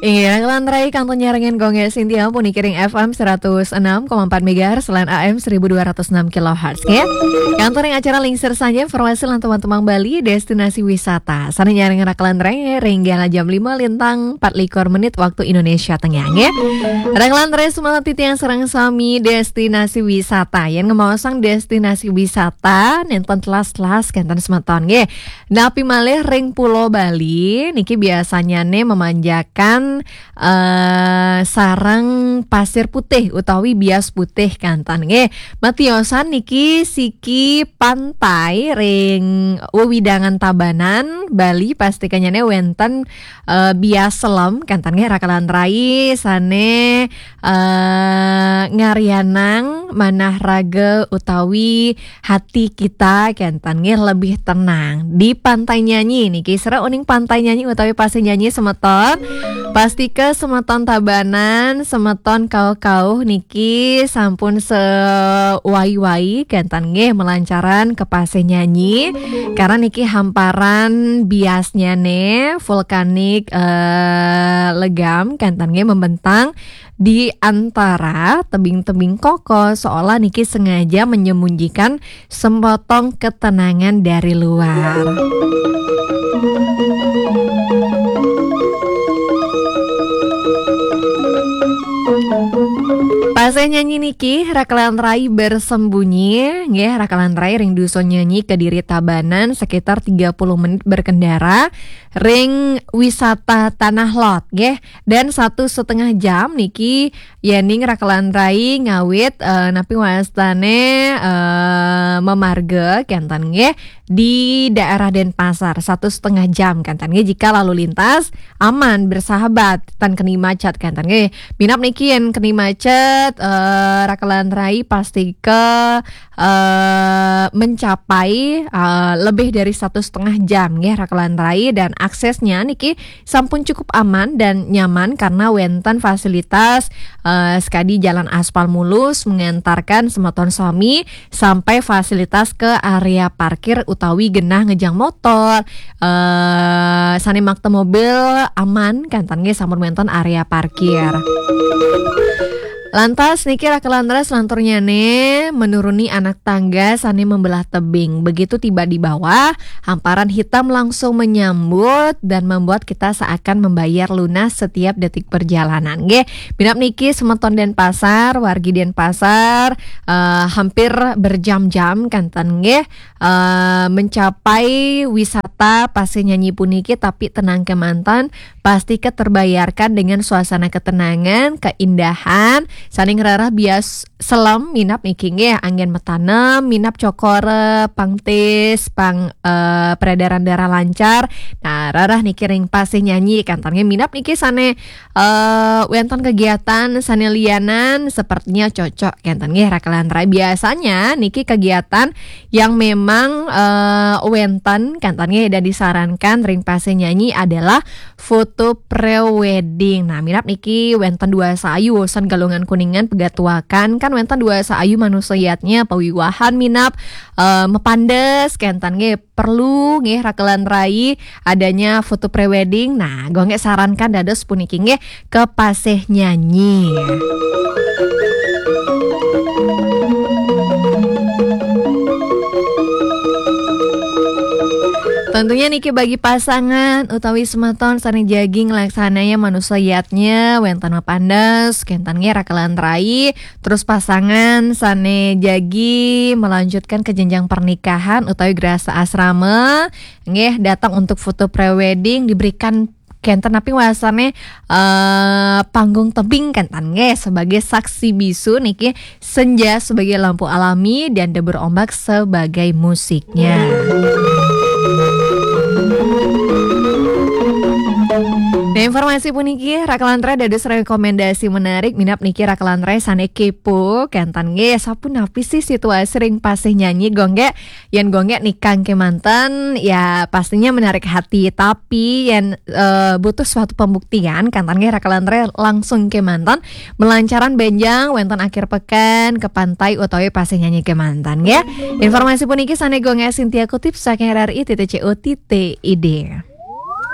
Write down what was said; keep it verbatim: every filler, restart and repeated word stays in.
Iya, Raka lan Rai kantun nyarengin Gong Sintia puniki ring F M seratus enam koma empat megahertz lan A M seribu dua ratus enam kilohertz, ya. Kantun ring acara Lingsir Sanja, informasi lan teman-teman Bali, destinasi wisata. Sane nyarengin Raka lan Rai ring galah jam lima lintang empat likur menit waktu Indonesia Tengah, ya. Raka lan Rai, semangat titiang sareng sami destinasi wisata. Yen ngemaosang destinasi wisata, nenten telas-telas kenten semeton, nggih. Napi malih ring Pulo Bali niki biasanya ne memanjakan eh, sareng pasir putih utawi bias putih kantan, nggih. Matiosan niki siki pantai ring wewidangan Tabanan, Bali, pastikanya ne wenten eh, bias selem kantan, nggih, Raka lan Rai sane eh, ngarianang manah raga utawi hati kita kenten, nggih, lebih tenang di Pantai Nyanyi niki. Sira uning Pantai Nyanyi utawi Pasir Nyanyi semeton, pastika semeton Tabanan, semeton kauh-kauh niki sampun sewai-wai kenten, nggih, melancaran ke Pasir Nyanyi. Karena niki hamparan biasnya ne vulkanik eh, legam kenten, nggih, membentang di antara tebing-tebing kokoh, seolah niki sengaja menyembunyikan sepotong ketenangan dari luar. Pasih Nyanyi niki, Raka lan Rai bersembunyi, nggih, Raka lan Rai ring Dusun Nyanyi, Kediri, Tabanan, sekitar tiga puluh menit berkendara ring wisata Tanah Lot, nggih. Dan satu setengah jam niki yening Raka lan Rai ngawit eh, napi wastane eh, memarga kenten, nggih, di daerah Denpasar, satu setengah jam kenten, nggih, jika lalu lintas aman, bersahabat, tan keni macet kenten, nggih. Minab niki yen keni macet eh, Raka lan Rai pastika eh, mencapai eh, lebih dari satu setengah jam, nggih, Raka lan Rai, dan aksesnya niki sampun cukup aman dan nyaman karena wenten fasilitas eh, sekadi jalan aspal mulus mengantarkan semeton sami sampai fasilitas ke area parkir utawi genah ngejang motor, eh, sane makta mobil aman kenten, nggih, sampun wenten area parkir. Lantas niki Raka lan Rai selanturnyane menuruni anak tangga sane membelah tebing. Begitu tiba di bawah, hamparan hitam langsung menyambut dan membuat kita seakan membayar lunas setiap detik perjalanan, nggih. Minab niki semeton Denpasar, wargi Denpasar eh, hampir berjam-jam kenten, nggih, eh, mencapai wisata Pasih Nyanyi puniki, tapi tenang kemanten, pasti keterbayarkan dengan suasana ketenangan, keindahan, sane ngrereh bias selem minab niki, nggih, anggen metanem, minab cokor pang tis, pang eh, peredaran darah lancar. Nah, rereh niki ring Pasih Nyanyi kenten, nggih, minab niki sane eh, wenten kegiatan sane lianan sepertinya cocok kenten, nggih, Raka lan Rai. Biasanya niki kegiatan yang memang eh, wenten kenten, nggih, dan disarankan ring Pasih Nyanyi adalah foto pre-wedding. Nah, minab niki wenten dua sayu, usan Galungan Kuningan, Pegatuakan, kan wenten dua sayu manusa yatnya pawiwahan minab eh, mapandes kenten, nggih, perlu, nggih, Raka lan Rai adanya foto pre-wedding. Nah, Gong sarankan dados puniki, nggih, ke Pasih Nyanyi. Tentunya niki bagi pasangan utawi semeton sane jagi nglaksanaya manusa yatnya wenten mapandes kenten, nggih, Raka lan Rai, terus pasangan sane jagi melanjutkan ke jenjang pernikahan utawi grasa asrama, nggih, datang untuk foto pre-wedding, diberikan kenten napi wastane eh, panggung tebing kenten, nggih, sebagai saksi bisu niki senja sebagai lampu alami dan debur ombak sebagai musiknya. Nah, informasi puniki Raka lan Rai dados rekomendasi menarik minab niki Raka lan Rai sane kepo kenten, nggih, sapunapi sih situasi ring Pasih Nyanyi, Gong, nggih. Yen Gong nikang kemanten, ya pastinya menarik hati. Tapi yen eh, butuh suatu pembuktian, kenten, nggih, Raka lan Rai langsung kemanten melancaran benjang wenten akhir pekan ke pantai utawi Pasih Nyanyi kemanten, nggih. Informasi puniki sane Gong Sintia kutip saking R R I titik C O titik I D.